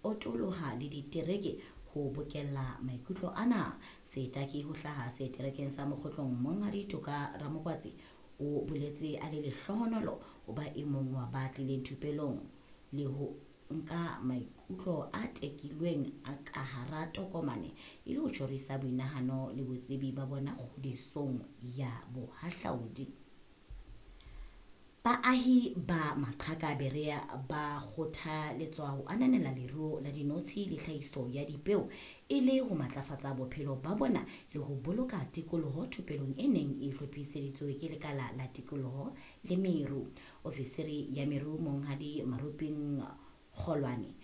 Otoloha le ditereke ho bokella maikutlo ana. Setaki ho hlaha seterekeng sa Mokgotlong Monghadi Toka Ramokwatsi o boletse a le lehlohonolo ho ba e mong wa ba tlileng thupelong le ho nka maikutlo a tekilweng a ka hara tokomane e le ho tjhorisa boinahano le botsebi ba bona kgodisong ya bohahlaudi. Baahi ba Maqhaka Berea ba kgothaletswa ho ananela leruo la dinotshi le tlhahiso ya dipeo e le ho matlafatsa bophelo ba bona le ho boloka tikoloho thupelong e neng e hlophiseditswe ke Lekala la Tikoloho le Meru. Ofisiri ya Meru Monghadi Maruping Kgolwane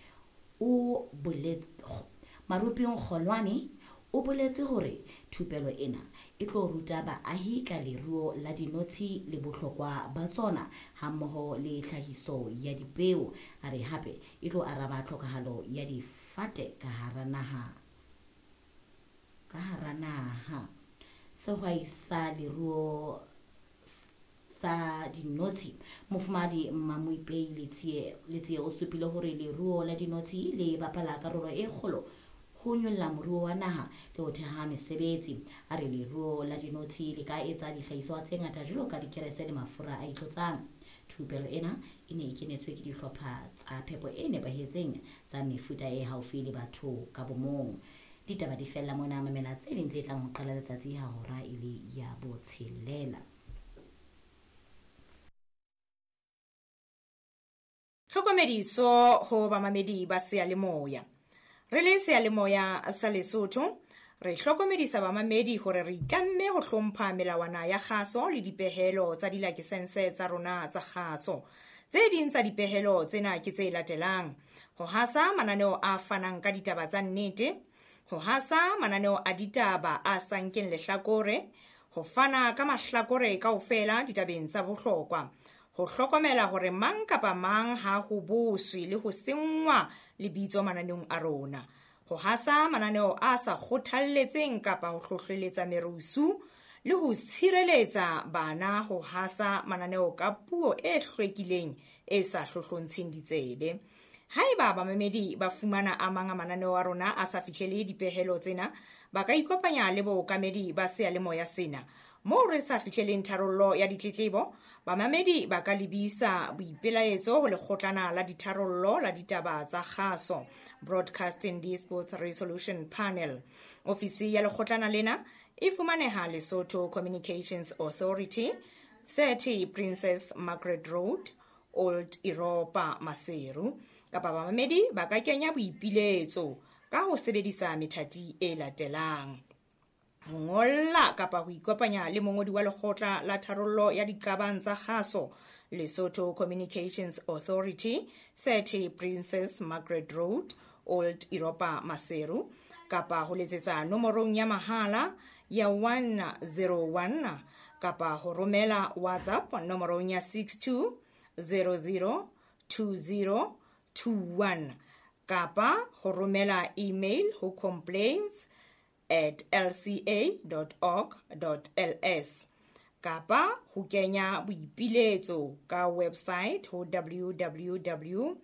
o Maruping Kgolwane o boletse hore thupelo ena e tlo ruta baahi ka leruo la dinotshi le bohlokwa ba tsona hammoho le tlhahiso ya dipeo. A re hape e tlo araba tlhokahalo ya difate ka hara naha. Ka hara naha. Sehwai sa leruo sa dinotshi Mofumahadi Mmamoipei Letsie o supile hore leruo la dinotshi le bapala karolo e kgolo ho nyolla moruo wa naha le ho theha mesebetsi. A re leruo la dinotshi le ka etsa dihlahiswa tse ngata jwalo ka dikerese le mafura a itlotsang. Thupelo ena e ne e kenetswe ke dihlopha tsa phepo e nepahetseng tsa mefuta e haufi le batho ka bomong. Ditaba di fella mona, mamela tse ding tse tlang ho qala letsatsi ha hora e le ya botshelela. Tlhokomediso ho bamamedi ba seyalemoya. Re le seyalemoya sa Lesotho, re hlokomedisa bamamedi hore re itlamme ho hlompha melawana ya kgaso le dipehelo tsa dilakesense tsa rona tsa kgaso. Tse ding tsa dipehelo tsena ke tse latelang: ho hasa mananeo a fanang ka ditaba tsa nnete, ho hasa mananeo a ditaba a sa nkeng lehlakore, ho fana ka mahlakore kaofela ditabeng tsa bohlokwa, ho hlokomela hore mang kapa mang ha ho boswe le ho senngwa lebitso mananeong a rona, ho hasa mananeo a sa kgothalletseng kapa ho hlohleletsa merusu le ho tshireletsa bana ho hasa mananeo ka puo e hlwekileng e sa hlohlontsheng ditsebe. Haeba bamamedi ba fumana a mang a mananeo a rona a sa fihlele dipehelo tsena, ba ka ikopanya le bookamedi ba seyalemoya sena. Moo re sa fihleleng tharollo ya ditletlebo, bamamedi ba ka lebisa boipelaetso ho lekgotlana la ditharollo la ditaba tsa kgaso, Broadcasting Disputes Resolution Panel. Ofisi ya lekgotlana lena e fumaneha Lesotho Communications Authority, 30 Princess Margaret Road, Old Europa, Maseru. Kapa bamamedi ba ka kenya boipiletso ka ho sebedisa methati e latelang: ho ngolla kapa ho ikopanya le mongodi wa lekgotla la tharollo ya diqabang tsa kgaso, Lesotho Communications Authority, 30 Princess Margaret Road, Old Europa, Maseru, kapa ho letsetsa nomorong ya mahala ya 101 kapa ho romela WhatsApp nomorong ya 62 00 20 21 kapa ho romela email ho complaints@lca.org.ls kapa ho kenya boipiletso ka website ho www.lca.org.ls.